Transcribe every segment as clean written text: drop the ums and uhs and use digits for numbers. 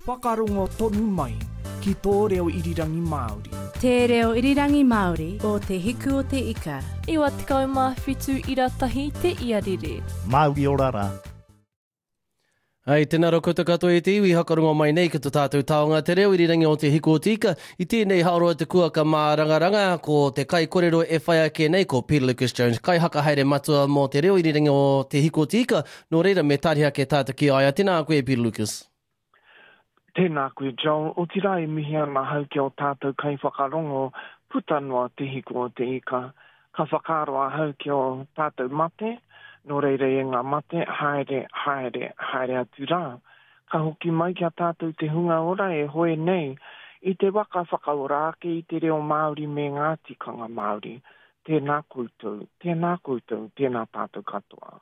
Whakarongo tonu mai ki tō reo irirangi Māori. Te reo irirangi Māori o Te Hiku o Te Ika. 97 ira tahi te iarere. Māori ora rā. Hei, tēnā rā koutou katoa e te iwi, hakarongo mai nei ki to tātou taonga te reo irirangi o Te Hiku o Te Ika. I tēnei haoroa te kuaka mārangaranga, ko te kaikorero e whai ake nei ko Peter Lucas Jones, kaihakahaere matua mō te reo irirangi o Te Hiku o Te Ika. Nō reira, me tariha ake tātou ki a ia. Tēnā koe e Peter Lucas. Tēnā koe Joel, otirā e mihi ana ahau ki ō tātou kaiwhakarongo puta noa Te Hiku o Te Ika. Ka whakaaro ahau ki ō tātou mate, nō reira e ngā mate, haere, haere, haere atu rā. Ka hoki mai ki a tātou te hunga ora e hoe nei i te waka whakaora ake i te reo Māori me ngā tikanga Māori. Tēnā koutou, tēnā koutou, tēnā tātou katoa.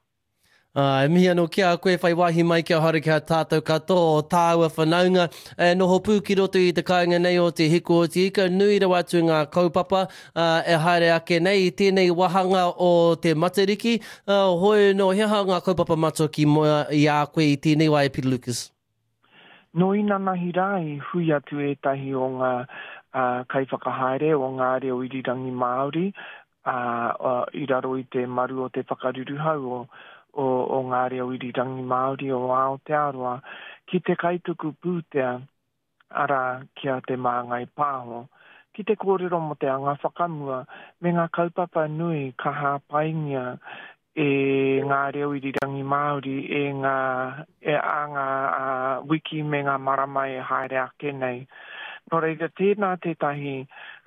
Ā, e mihi anō ki a koe whai wāhi mai kia haere ki a tātou katoa o tāua whanaunga e noho pū ki roto i te kāinga nei o Te Hiku o Te Ika, nui rawa atu ngā kaupapa ā, e haere ake nei i tēnei wāhanga o te Matariki. Ā, hoi anō, he aha ngā kaupapa matua ki mua i a koe i tēnei wā e Peter Lucas? Nō inanahi rā i hui atu ētahi o ngā kaiwhakahaere o ngā reo irirangi Māori ā, i raro i te maru o te whakaruruhau o, o, o ngā reo irirangi Māori o Aotearoa, ki te kaituku pūtea, arā, ki a Te Māngai Pāho, ki te kōrero mō te anga whakamua me ngā kaupapa nui ka hāpaingia e ngā reo irirangi Māori e ngā, e, ā ngā ā, wiki me ngā marama e haere ake nei. Nō reira, tēnā tētahi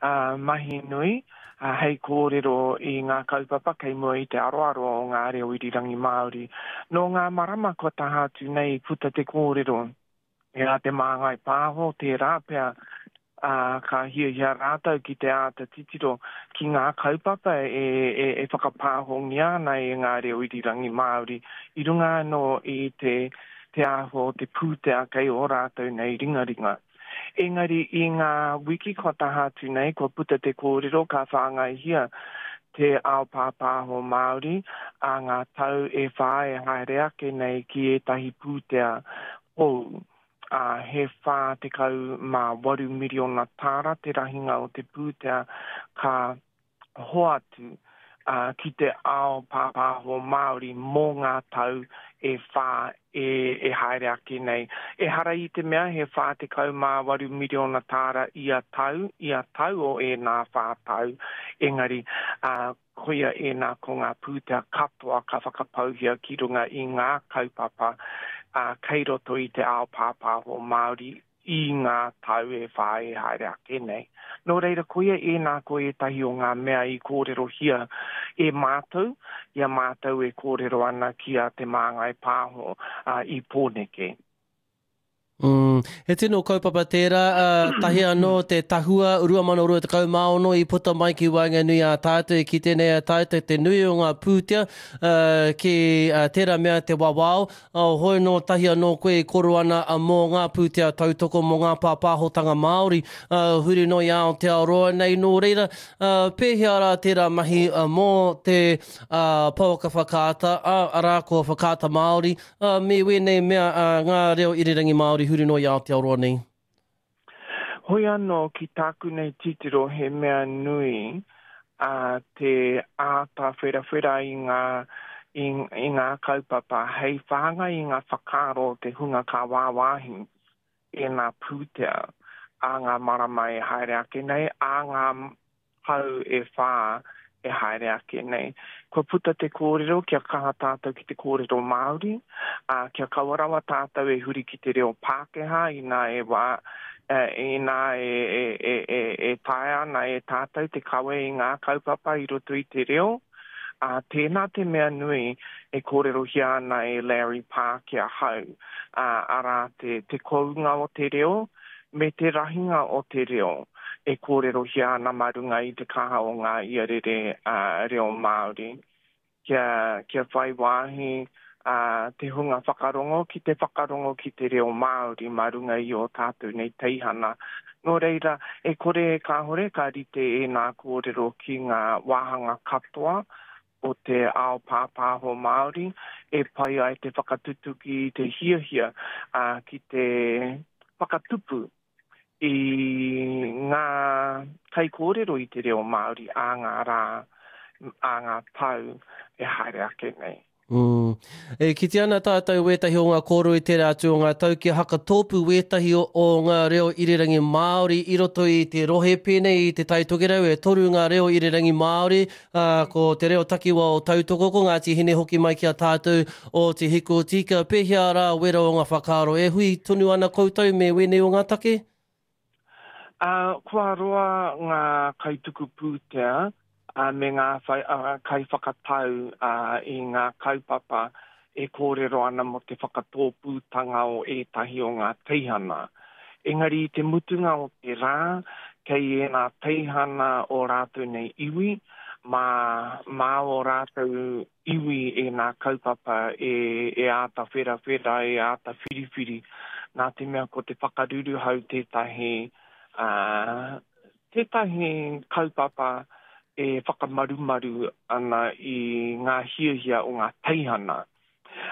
ā, mahi nui ā, hei kōrero i ngā kaupapa kei mua i te aroaro o ngā reo irirangi Māori. Nō ngā marama kua taha atu nei i puta te kōrero e a Te Māngai Pāho, tērā pea ā, ka hiahia rātou ki te āta titiro ki ngā kaupapa e, e, e whakapāhongia ana e ngā reo irirangi Māori i runga anō i te, te āhua o te pūtea kei ō rātou nei ringaringa. Engari i ngā wiki kua taha atu nei, kua puta te kōrero ka whāngaihia te ao pāpāho Māori ā ngā tau e whā e haere ake nei ki ētahi pūtea hou, ā, he 48 miriona tāra te rahinga o te pūtea ka hoatu ki te ao pāpāho Māori mō ngā tau e whā e, e haere ake nei. Ehara i te mea he 48 miriona tāra ia tau, ia tau o ēnā whā tau, engari, ā, koia ēnā ko ngā pūtea katoa ka whakapauhia ki runga i ngā kaupapa, ā, kei roto i te ao pāpāho Māori i ngā tau e whā e haere ake nei. Nō reira, koia ēnā ko ētahi o ngā mea i kōrerohia e mātou, i a mātou e kōrero ana ki a Te Māngai Pāho i Pōneke. Mm, he tino kaupapa tērā, uh, tahi anō te tahua 2026 i puta mai ki waenganui a tātou e kite nei a tātou te nui o ngā pūtea uh, ki uh, tērā mea te wawao, Oh, hoi nō tahi anō koe e koro ana mō ngā pūtea tautoko mō ngā pāpāhotanga Māori huri noa i Aotearoa nei. Nō reira, pēhea rā tērā mahi mō te pouaka whakaata, arā ko Whakaata Māori, me wēnei mea ngā reo irirangi Māori huri noa i Aotearoa nei? Hoi anō, ki tāku nei titiro he mea nui a te āta wherawhera i ngā, i, i ngā kaupapa hei whāngai i ngā whakaaro o te hunga ka wāwāhi ēnā pūtea ā ngā marama e haere ake nei, ā ngā tau e whā e haere ake nei. Kua puta te kōrero kia kaha tātou ki te kōrero Māori, ā, kia kaua rawa tātou e huri ki te reo Pākehā inā e wā, inā e, e, e, e, e taea ana e tātou te kawe i ngā kaupapa i roto i te reo. Ā, tēnā te mea nui e kōrerohia ana e Larry Parr ki ahau, ā, arā te, te kounga o te reo, me te rahinga o te reo e kōrerohia ana mā runga i te kaha o ngā iarere reo Māori, kia, kia whai wāhi te hunga whakarongo ki te whakarongo ki te reo Māori mā runga i ō tātou nei teihana. Nō reira, e kore e kāhore ka rite ēnā kōrero ki ngā wāhanga katoa o te ao pāpāho Māori e pai ai te whakatutuki i te hiahia ki te. whakatupu i ngā kaikōrero i te reo Māori ā ngā rā, ā ngā tau e haere ake nei. Mm. E kite ana tātou wētahi o ngā kōrero i tērā atu o ngā tau kia hakatōpū wētahi o, o ngā reo irirangi Māori i roto i te rohe pēnei i Te Tai Tokerau e toru ngā reo irirangi Māori, ā, ko te reo takiwa o Tautoko, ko Ngāti Hine hoki mai ki a tātou o Te Hiku o Tika. Pēhea rā wera o ngā whakaaro e hui tonu ana koutou me wēnei o ngā take? Ā, kua roa ngā kaituku pūtea me ngā kaiwhakatau i ngā kaupapa e kōrero ana mō te whakatōpūtanga o ētahi o ngā teihana. Engari i te mutunga o te rā, kei ēnā teihana o rātou nei iwi, mā, mā ō rātou iwi ēnā kaupapa e, e āta wherawhera, e āta whiriwhiri, nā te mea ko te whakaruruhau tētahi, ā, tētahi kaupapa e whakamarumaru ana i ngā hiahia o ngā teihana.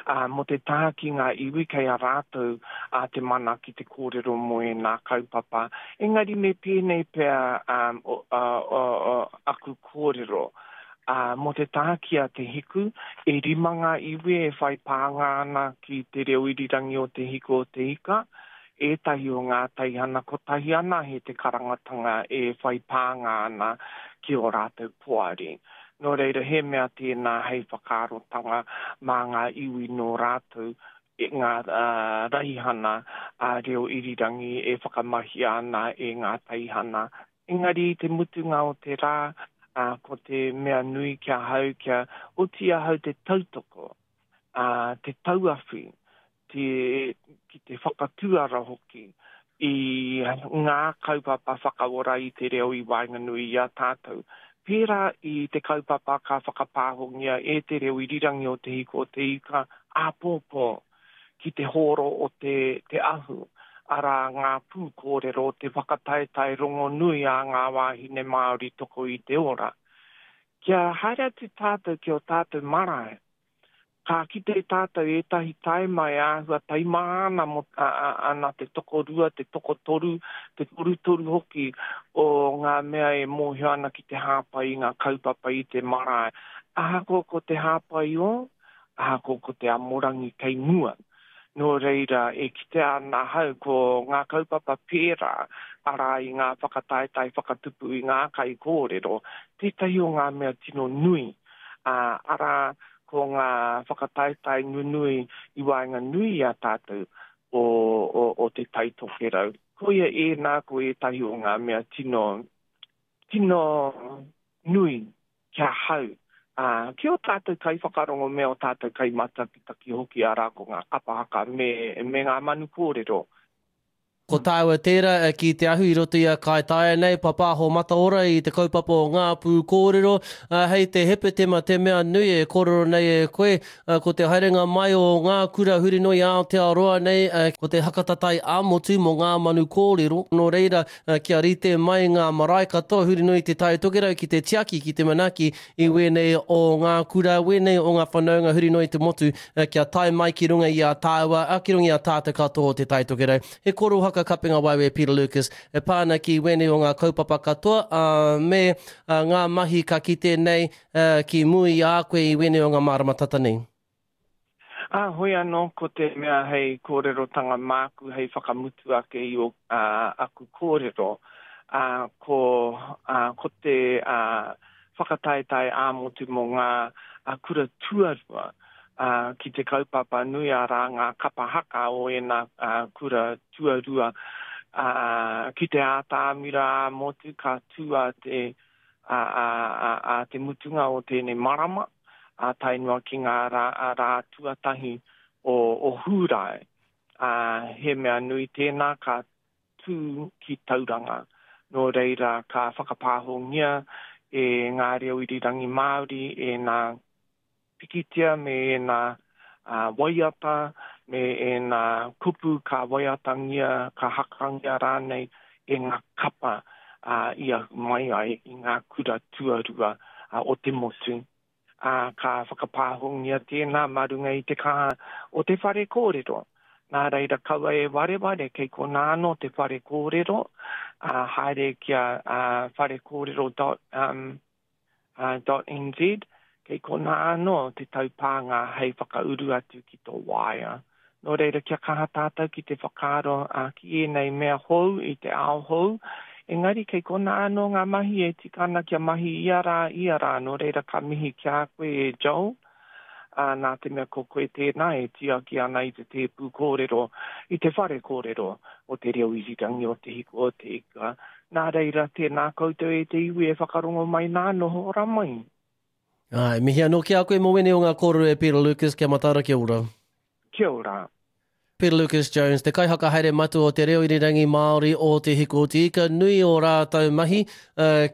Ā, mō te taha ki ngā iwi kei a rātou ā te mana ki te kōrero mō ēnā kaupapa. Engari me pēnei pea ā, o, ā, o, o, aku kōrero. Ā, mō te taha ki a Te Hiku, e rima ngā iwi e whai pānga ana ki te reo irirangi o Te Hiku o Te Ika, ētahi o ngā teihana kotahi anahe te karangatanga e whai pānga ana ki ō rātou poari. Nō reira, he mea tēnā hei whakaarotanga mā ngā iwi nō rātou ngā raihana ā-reo irirangi e whakamahia ana e ngā teihana. Engari i te mutunga o te rā, ko te mea nui ki ahau kia oti ahau te tautoko, te tauawhi te, ki te whakatūara hoki i ngā kaupapa whakaora i te reo i waenganui i a tātou. Pērā i te kaupapa ka whakapāhongia e te reo irirangi o Te Hiku o Te Ika āpōpō ki te hōro o te, te ahu, arā ngā pūkōrero o te whakataetae rongonui a ngā wāhine Māori toko i te ora. Kia haere atu tātou ki ō tātou marae, Ka kite tātou ētahi taima e āhua taimaha ana mō, ana te tokorua, te tokotoru, te torutoru hoki o ngā mea e mōhio ana ki te hāpai i ngā kaupapa i te marae. Ahakoa ko te hāpai ō, ahakoa ko te amorangi kei mua. Nō reira, e kitea ana ahau ko ngā kaupapa pērā, arā i ngā whakataetae whakatupu i ngā kaikōrero, tētahi o ngā mea tino nui ā, arā, ko ngā whakataetae nunui i waenganui i a tātou o, o, o Te Tai Tokerau. Koia ēnā ko ētahi o ngā mea tino, tino nui ki ahau, ā, ki ō tātou kaiwhakarongo me ō tātou kaimatakitaki hoki, arā, ko ngā kapa haka me, me ngā manu kōrero. Ko tāua tērā ki te ahu i roto i a Kāi Taia nei, Papāho Mataora i te kaupapa o Ngā Pū Kōrero. Hei te Hepetema te mea nui e kōrero nei e koe, ko te haerenga mai o ngā kura huri noa i Aotearoa nei, ko te hakatatai ā-motu mō ngā manu kōrero. Nō reira, kia rite mai ngā marae katoa huri noa i Te Tai Tokerau ki te tiaki, ki te manaaki i wēnei o ngā kura, wēnei o ngā whanaunga huri noa i te motu, kia tae mai ki runga i a tāua, ā, ki runga i a tātou katoa o Te Tai Tokerau. He korohaka kapenga waewae Peter Lucas e pā ana ki wēnei o ngā kaupapa katoa, ā, me ngā mahi ka kite nei ki mua i a koe i wēnei o ngā marama tata nei. Ā, hoi anō, ko te mea hei kōrerotanga māku hei whakamutu ake i ō, ā, aku kōrero, ā, ko, ā, ko te, ā, whakataetae ā-motu mō ngā, ā, kura tuarua, ā, ki te kaupapa nui arā ngā kapa haka o ēnā, ā, kura tuarua, ā, ki te ātamira ā-motu ka tū a te, ā, ā, ā, ā te mutunga o tēnei marama, ā, tae noa ki ngā rā, rā tuatahi o, o Hūrae. Ā, he mea nui tēnā ka tū ki Tauranga. Nō reira, ka whakapāhongia e ngā reo irirangi Māori ēnā pikitia me ēnā waiata, me ēnā kupu ka waiatangia, ka hakangia rānei e ngā kapa i ahu mai ai i ngā kura tuarua o te motu. Ā, ka whakapāhongia tēnā mā runga i te kaha o te whare kōrero. Nā reira, kaua e wareware, kei konā anō te whare kōrero, ā, haere ki a wharekōrero dot, um, dot nz, kei konā anō te taupānga hei whakauru atu ki tō waea. Nō reira, kia kaha tātou ki te whakaaro ki ēnei mea hou i te ao hou, engari kei konā anō ngā mahi e tika ana kia mahi ia rā, ia rā, nō reira ka mihi ki a koe e Joel, ā, nā te mea ko koe tēnā e tiaki ana i te tēpū kōrero, i te whare kōrero o te reo irirangi o Te Hiku o Te Ika. Nā reira, tēnā koutou e te iwi e whakarongo mai nā, noho ora mai. Āe, mihi anō ki a koe mō wēnei o ngā kōrero e Peter Lucas, kia mataara, kia ora. Kia ora. Peter Lucas Jones, te kaihakahaere matua o te reo irirangi Māori o Te Hiku o Te Ika, nui ō rātou mahi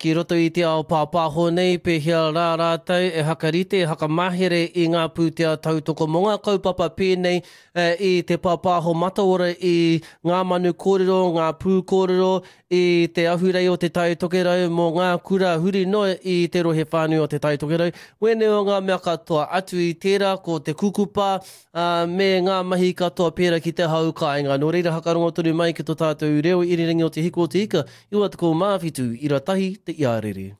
ki roto i te ao pāpāho nei, pēhea rā rātou e hakarite, e hakamahere i ngā pūtea tautoko mō ngā kaupapa pēnei i te pāpāho mataora i ngā manu kōrero, ngā pūkōrero, i te ahurei o Te Tai Tokerau mō ngā kura huri noa i te rohe whānui o Te Tai Tokerau. Wēnei o ngā mea katoa, atu i tērā ko te kukupa, ā, me ngā mahi katoa pērā ki te hau kāinga. Nō reira hakarongo tonu mai ki tō tātou reo irirangi o Te Hiku o Te Ika, 97 ira tahi te iarere.